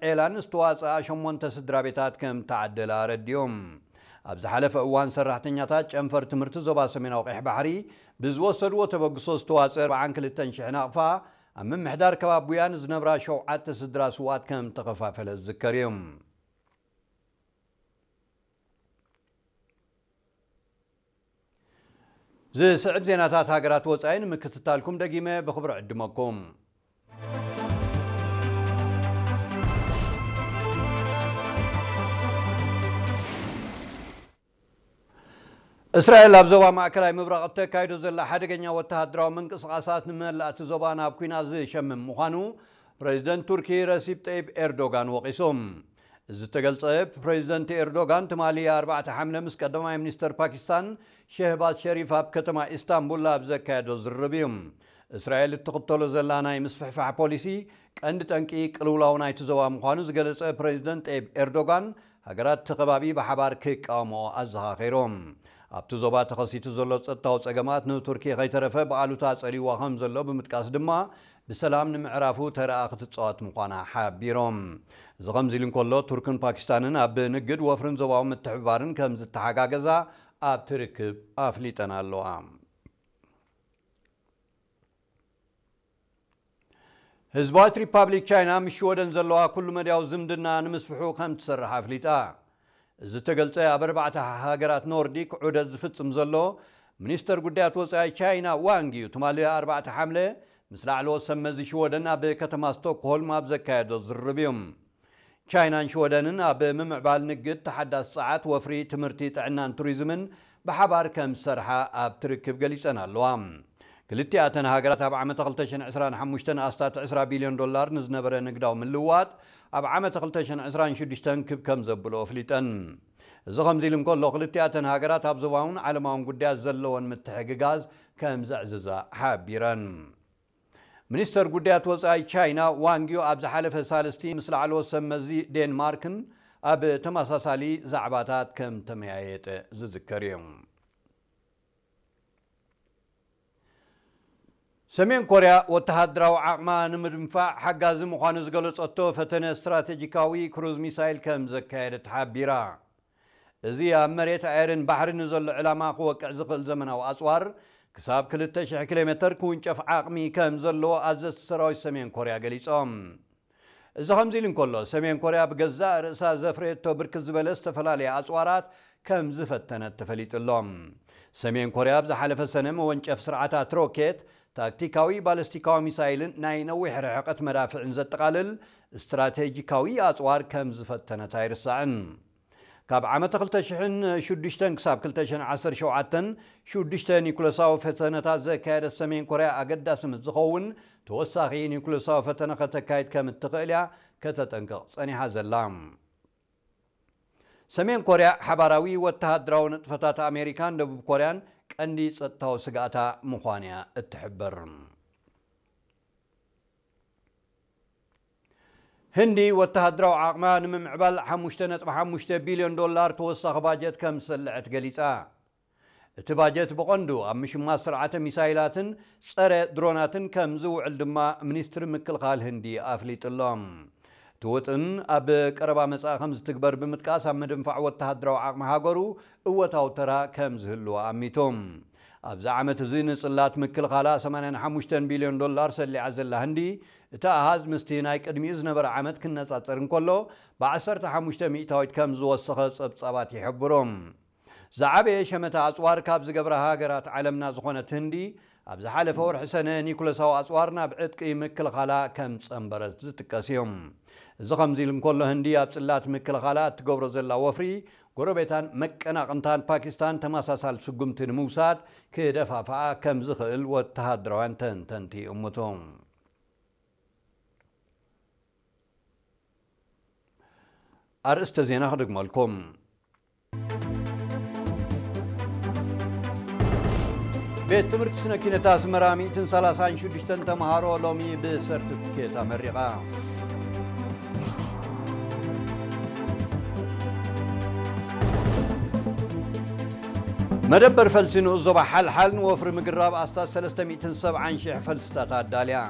ዔላን ዝተዋፅኣ ሸሞንተ ስድራ ቤታት ከም ተዓደላ ኣረዲኦም። ኣብ ዝሓለፈ እዋን ሰራሕተኛታት ጨንፈር ትምህርቲ ዞባ ሰሜናዊ ቀይሕ ባሕሪ ብዝወሰድዎ ተበግሶ ዝተዋፅአ ኣርባዓን ክልተን ሽሕ ናቕፋ ኣብ ምምሕዳር ከባቢ ቡያ ንዝነብራ ሸውዓተ ስድራ ስውኣት ከም ተኸፋፈለ ዝዝከር እዩ። ዝስዕብ ዜናታት ሃገራት ወጻኢ ንምክትታልኩም ደጊመ ብኽብሪ ዕድመኩም። እስራኤል ኣብ ዞባ ማእከላይ ምብራቕ እተካይዶ ዘላ ሓደገኛ ወተሃደራዊ ምንቅስቓሳት ንመላእቲ ዞባ ናብ ኲናት ዝሸምም ምዃኑ ፕሬዚደንት ቱርኪ ረሲፕ ጠይብ ኤርዶጋን ወቒሱ። እዚ ዝተገልጸ ፕሬዚደንት ኤርዶጋን ትማሊ ኣርባዕተ ሓምለ ምስ ቀዳማይ ሚኒስተር ፓኪስታን ሸህባዝ ሸሪፍ ኣብ ከተማ ኢስታንቡል ኣብ ዘካየዶ ዝርርብ እዩ። እስራኤል እትኽተሎ ዘላ ናይ ምስፍሕፋሕ ፖሊሲ ቀንዲ ጠንቂ ቅልውላው ናይቲ ዞባ ምዃኑ ዝገለጸ ፕሬዚደንት ጠይብ ኤርዶጋን፣ ሃገራት እቲ ከባቢ ብሓባር ክቃወምኦ ኣዘኻኺሩ። ኣብቲ ዞባ ተኸሲቱ ዘሎ ጸጥታዊ ጸገማት ንቱርኪ ከይተረፈ ብኣሉታ ጸሊዋ ከም ዘሎ ብምጥቃስ ድማ፣ ብሰላም ንምዕራፉ ተረኣ ክትጻወት ምዃና ሓቢሮም። እዚ ከምዚ ኢሉ እንከሎ፣ ቱርክን ፓኪስታንን ኣብ ንግድ ወፍርን ዞባዊ ምትሕብባርን ከም ዝተሓጋገዛ ኣብቲ ርክብ ኣፍሊጠን ኣለዋ። ህዝባዊት ሪፓብሊክ ቻይና ምስ ሽወደን ዘለዋ ኩሉ መድያዊ ዝምድና ንምስፍሑ ከም ትሰርሕ ኣፍሊጣ። እዚ ተገልጸ ኣብ ኣርባዕተ ሃገራት ኖርዲክ ዑደት ዝፍጽም ዘሎ ሚኒስተር ጉዳያት ወጻኢ ቻይና ዋንግ ዩ ትማሊ ኣርባዕተ ሓምለ ምስ ላዕለዎት ሰብ መዚ ሽወደን ኣብ ከተማ ስቶክሆልም ኣብ ዘካየዶ ዝርርብ እዩ። ቻይናን ሽወደንን ኣብ ምምዕባል ንግድ፣ ተሓዳሲ ጸዓት፣ ወፍሪ፣ ትምህርቲ፣ ጥዕናን ቱሪዝምን ብሓባር ከም ዝሰርሓ ኣብቲ ርክብ ገሊጸን ኣለዋ። ክልቲኣተን ሃገራት ኣብ ዓመተ ክልተ ሽሕን ዕስራን ሓሙሽተን ኣስታት ዕስራ ቢልዮን ዶላር ንዝነበረ ንግዳዊ ምልውዋጥ ኣብ ዓመተ ክልተ ሽሕን ዕስራን ሽዱሽተን ክብ ከም ዘብሎ ኣፍሊጠን። እዚ ከምዚ ኢሉ እንከሎ፣ ክልቲኣተን ሃገራት ኣብ ዞባውን ዓለማውን ጉዳያት ዘለወን ምትሕግጋዝ ከም ዘዕዝዛ ሓቢረን። ሚኒስተር ጉዳያት ወጻኢ ቻይና ዋንግ ዩ ኣብ ዝሓለፈ ሳልስቲ ምስ ላዕለዎት ሰብ መዚ ዴንማርክን ኣብ ተመሳሳሊ ዛዕባታት ከም ተመያየጠ ዝዝከር እዩ። ሰሜን ኮርያ ወተሃደራዊ ዓቕማ ንምድንፋዕ ሓጋዚ ምዃኑ ዝገለጸቶ ፈተነ ስትራቴጂካዊ ክሩዝ ሚሳይል ከም ዘካየደት ሓቢራ። እዚ ኣብ መሬት፣ ኣየርን ባሕርን ንዘሎ ዕላማ ክወቅዕ ዝኽእል ዘመናዊ ኣጽዋር፣ ክሳብ ክልተ ሽሕ ኪሎ ሜተር ክውንጨፍ ዓቕሚ ከም ዘለዎ ኣዘዝቲ ሰራዊት ሰሜን ኮርያ ገሊጾም። እዚ ከምዚ ኢሉ እንከሎ፣ ሰሜን ኮርያ ብገዛእ ርእሳ ዘፍረየቶ ብርክት ዝበለ ዝተፈላለየ ኣጽዋራት ከም ዝፈተነት ተፈሊጡ ኣሎ። ሰሜን ኮርያ ኣብ ዝሓለፈ ሰነ መወንጨፍ ስርዓታት ሮኬት፣ ታክቲካዊ ባለስቲካዊ ሚሳይልን ናይ ነዊሕ ርሕቀት መዳፍዕን ዘጠቓልል ስትራቴጂካዊ ኣጽዋር ከም ዝፈተነት ኣይርሳዕን። ካብ ዓመተ ክልተ ሽሕን ሽዱሽተን ክሳብ ክልተ ሽሕን ዓሰርተ ሸውዓተን ሽዱሽተ ኒኩለሳዊ ፈተነታት ዘካየደት ሰሜን ኮርያ፣ ኣገዳሲ ምስ ዝኸውን ተወሳኺ ኒኩለሳዊ ፈተነ ከተካይድ ከም እትኽእል እያ ከተጠንቅቕ ጸኒሓ ዘላ። ሰሜን ኮርያ ሓባራዊ ወተሃደራዊ ንጥፈታት ኣሜሪካን ደቡብ ኮርያን ቀንዲ ጸጥታዊ ስግኣታ ምዃን እያ እትሕብር። ህንዲ ወተሃደራዊ ዓቕማ ንምምዕባል ሓሙሽተ ነጥቢ ሓሙሽተ ቢልዮን ዶላር ተወሳኺ ባጀት ከም ዝሰልዐት ገሊጻ። እቲ ባጀት ብቐንዱ ኣብ ምሽማት ስርዓተ ሚሳይላትን ጸረ ድሮናትን ከም ዝውዕል ድማ ሚኒስትሪ ምክልኻል ህንዲ ኣፍሊጡ ኣሎ። እቲ ውጥን ኣብ ቀረባ መጻኢ ከም ዝትግበር ብምጥቃስ፣ ኣብ ምድንፋዕ ወተሃደራዊ ዓቕሚ ሃገሩ እወታዊ ተራ ከም ዝህልዎ ኣሚቱ። ኣብዚ ዓመት እዚ ንጽላት ምክልኻላ ሰማንያን ሓሙሽተን ቢልዮን ዶላር ሰሊዓ ዘላ ህንዲ፣ እቲ ኣሃዝ ምስቲ ናይ ቅድሚኡ ዝነበረ ዓመት ክነጻጸር እንከሎ፣ ብዓሰርተ ሓሙሽተ ሚእታዊት ከም ዝወሰኸ ጸብጻባት ይሕብሩ። ዝዓበየ ሸመታ ኣጽዋር ካብ ዝገብራ ሃገራት ዓለምና ዝኾነት ህንዲ፣ ኣብ ዝሓለፈ ወርሒ ሰነ ኒኩለሳዊ ኣጽዋር ናብ ዕጥቂ ምክልኻላ ከም ጸንበረት ዝጥቀስ እዩ። እዚ ከምዚ ኢሉ እንከሎ፣ ህንዲ ኣብ ጽላት ምክልኻላ እትገብሮ ዘላ ወፍሪ፣ ጎረቤታን መቀናቕንታን ፓኪስታን ተመሳሳሊ ስጉምቲ ንምውሳድ ክደፋፍኣ ከም ዝኽእል ወተሃደራውያን ተንተንቲ ይእምቱ። ኣርእስተ ዜና ክድግመልኩም። ቤት ትምህርቲ ስነ ኪነት ኣስመራ ሚእትን ሰላሳን ሽዱሽተን ተምሃሮ ሎሚ ብሰርቲፊኬት ኣመሪቓ። መደበር ፈልሲ ንኡስ ዞባ ሓልሓል ንወፍሪ ምግራብ ኣስታት ሰለስተ ሚእትን ሰብዓን ሽሕ ፈልስታት ኣዳልያ።